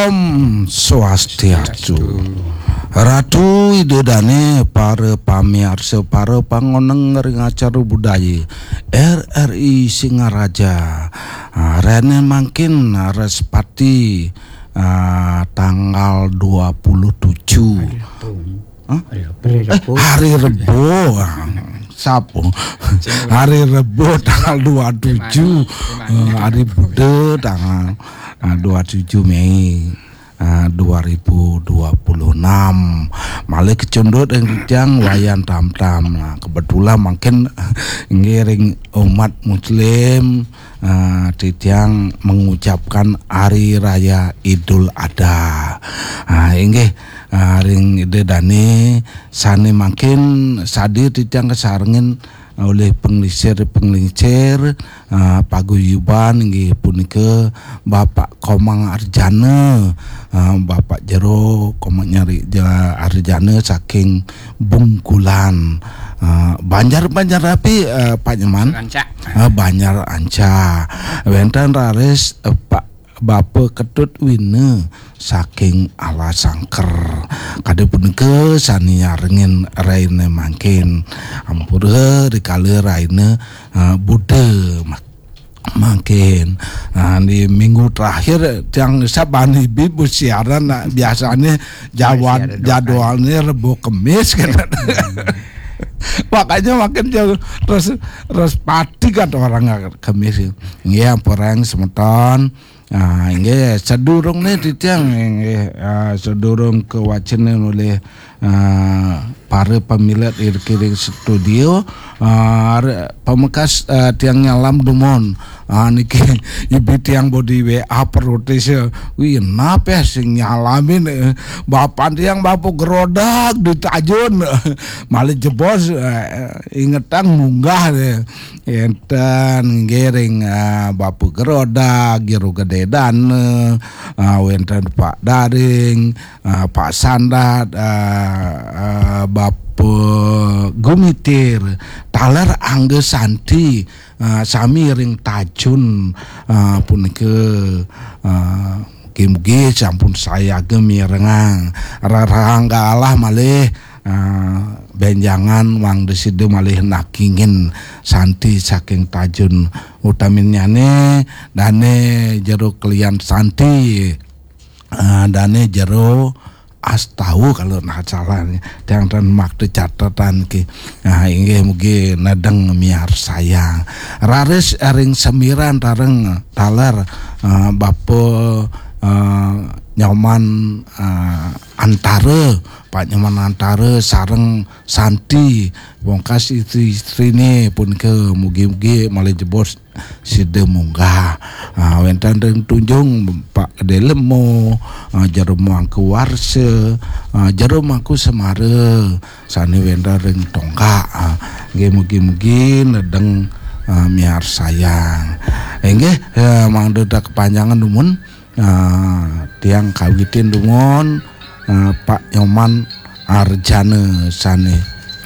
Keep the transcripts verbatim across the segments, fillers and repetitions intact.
Om Swastiastu. Ratu Ida Dane, para pamiarsa, para pangoneng ring acara budaya R R I Singaraja. Ah, rene mangkin Respati, ah, tanggal dua puluh tujuh. Hah? Eh, hari Rebo. Ah, sapo? Hari Rebo tanggal dua tujuh. Eh, hari Buda tanggal, ah, dua tujuh Mei, ah, dua ribu dua puluh enam. Malih kecundut ring titiang Wayan Tamtam. Nah, kebetulan mangkin ngiring umat muslim, ah, titiang mengucapkan Hari Raya Idul Adha. Ah, inggih, ah, ring Ida Dane sane mangkin sadi titiang kasarengin olih penglingsir-penglingsir, ah, paguyuban inggih punika Bapak Komang Arjana, ah, Bapak Jero Komang nyari ja-, Arjana saking Bungkulan. Ah, Banjar, Banjar api, ah, Pak Nyoman? Rancak. Ah, Banjar Anca. Wenten raris, eh, Pak Bapa Ketut Wina saking Alasangker. Kadi punika sane nyarengin raina mangkin. Ampura rikala raina, ah, Buda ma-, mangkin. Ah, di minggu terakhir tiang saban ibi bersiaran, nah, biasanya jawan-, siaran dua kali. Jadwalnya Rebo Kemis kan. Makanya makin jauh terus, terus pati kan orang Kemis. Nggih, ampura semeton. Ah, inggih, sedurungne titiang, inggih, ah, sedurung kawacenin olih, ah, para pamilet iriki ring studio, ah, re-, pamekas, ah, tiang nyalam dumun. Ah, niki ibi tiang bodi W A protes, ya. Wih, nape sing nyalamin, eh? Bapan tiang Bapa Gerodak di Tajun. Malih jebos, eh, ingetang munggah deh. Enten ngiring, ah, Bapa Gerodak, Jero Gede Dana, ah, wenten Pak Daring, ah, Pak Sandat, ah, ah, Bapa Gumitir, taler Angga Santi, ah, sami ring Tajun, ah, punika, ah, mugi-mugi sampun sayaga mirengang. Rerangga alah malih, ah, benjangan Wang Desida malih nakingin Santi saking Tajun. Utaminnyane dane Jero Klian Santi, ah, dane Jero Astawa kalau nak salah nih. Tiang ten makta catatan ki. Ah, inggih mugi nedeng miarsayang. Raris ring semiran tareng taler, ah, Bapa, ah, Nyoman, ah, Antara, Pak Nyoman Antara sareng Santi, pungkas istri-istrine punika mugi-mugi malih jebos sida munggah. Ah, wenten ring Tunjung Pak Gede Lemo, ah, Jero Mangku Warsa, ah, Jero Mangku Semara, sane wenten ring Tongkak. Ah, nggih mugi-mugi nedeng, ah, miarsayang. Inggih, eh, mangda tak kepanjangan dumun. Ah, tiang kawitin dumun, ah, Pak Nyoman Arjana sane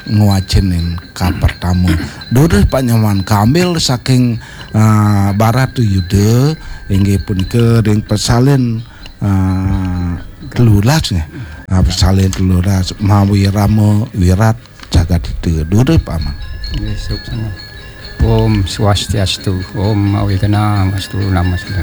ngwacenin kapertama. Durus Pak Nyoman, kambil saking, ah, Barat Yuda, inggih punika ring Pesalin, ah, telulas nggih. Ah, Pesalin telulas, Mawirama Wirat Jagadhita. Durus Pak Aman. Nggih, suksma. Om Swastiastu, Om Awignamastu, Namaste.